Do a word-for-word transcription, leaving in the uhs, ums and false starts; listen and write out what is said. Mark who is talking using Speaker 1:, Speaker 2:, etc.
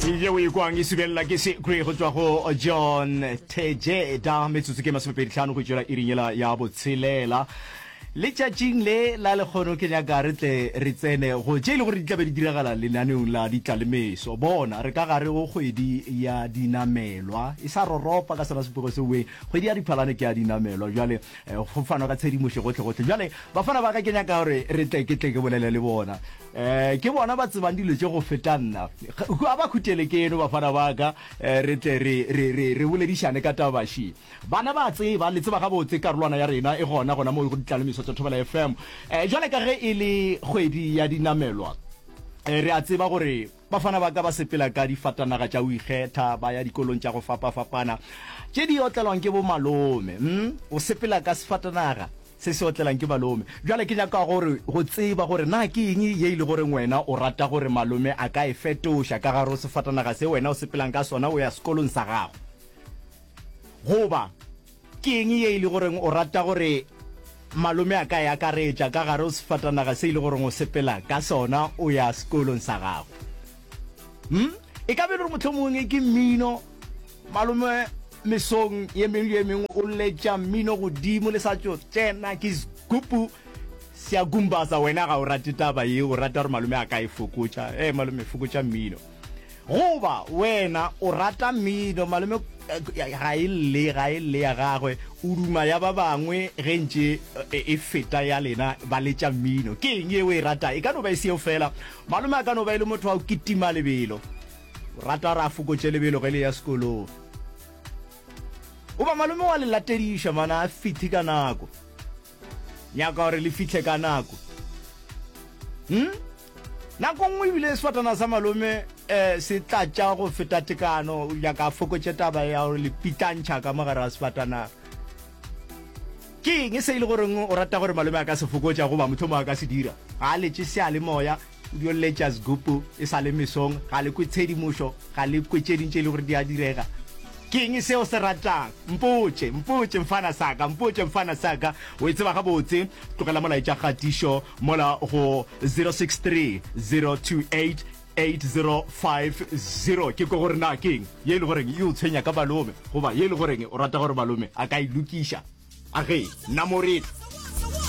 Speaker 1: Yeo e kwang e subelela ke Secret go tšwa go John Tejeda. Metsotso ke masomepedi hlano go tšwela iring yela ya botshelela. Letšatšing le la lekgono ke nyaka re tle re tsene go tše e le gore di tla be di diragala lenaneong la ditlalemeso. Bona, re ka gare go kgwedi ya dinamelwa, e sa roropa ka sona sepego seo. Kgwedi ya Diphalane ke ya dinamelwa. Bjale go fanwa ka tshedimošo gohle-gohle. Bjale bafana ba ka ke nyaka gore re tle ke tle ke bolele le bona. Um ke bona ba tsebang dilo tše go feta nna. A ba khutele ke eno bafana ba ka, re tle re re re re boledišane ka taba še. Bana ba tseba, le tseba gabotse karolwana ya rena e gona gona mo go ditlalemeso tša Thobela F M. Um jwale ka ge e le kgwedi ya dinamelwa, re a tseba gore bafana ba ka ba sepela ka difatanaga tša go ikgetha, ba ya dikolong tša go fapafapana tše di otlelwang ke bomalome. Mm, o sepela ka sefatanaga se se otlelang ke malome. Bjale ke nyaka gore go tseba gore na ke eng ye e le goreng wena o rata gore malome a ka e fetoša ka gare go sefatanaga se wena o sepelang ka sona o ya sekolong sa gago. Goba ke eng ye e le goreng o rata gore malome a ka e akaretša ka gare go sefatanaga se e le goreng o sepela ka sona o ya sekolong sa gago. Hmm? E ka be e le gore mohlomongwe ke mmino, malome mesong ye mengwe le ye mengwe o letša mmino godimo le sa tšo tsena ke sgupu se a gumbaza, wena ga o rate taba ye, o rata gore malome a ka e fokotša. Eh malome, fokotša mmino. Goba wena o rata mmino, malome ga e lle, ga e lle ya gagwe, o duma ya ba bangwe ge ntše e feta ya lena ba letša mmino. Ke eng ye o e rata? E ka no ba e seo fela. Malome a ka no ba e le motho wa go kitima lebelo, o rata gore a fokotše lebelo ge le ya sekolong. Goba malome wa le latediša mana a fihle ka nako, nyaka gore le fihle ka nako. Hmm? Nako nngwe ebile sefatana sa malome um se tlatša go feta tekano, nyaka a fokotše taba ya gore le pitlantšha ka mogare ga sefatanaga. Ke eng se e le goreng o rata gore malome a ka se fokotša goba mohlomongwe a ka se dira? Ga a letše seyalemoya, o dio letša sgupu e sa le mesong, ga le kwe tshedimošo, ga le kwe tše ding tše e le gore di a direga. Ke eng seo se ratang? Mpotše, mpotše mfana saka, mpotše mfana saka. O e tseba gabotse, tlogela molaetša kgatišo mola go zero six three zero two eight eight zero five zero. Ke kwe gore na ke eng ye e le goreng e o tshwenya ka malome, goba ye e le goreng o rata gore malome a ka e lokiša. A ge, nna mo re tla.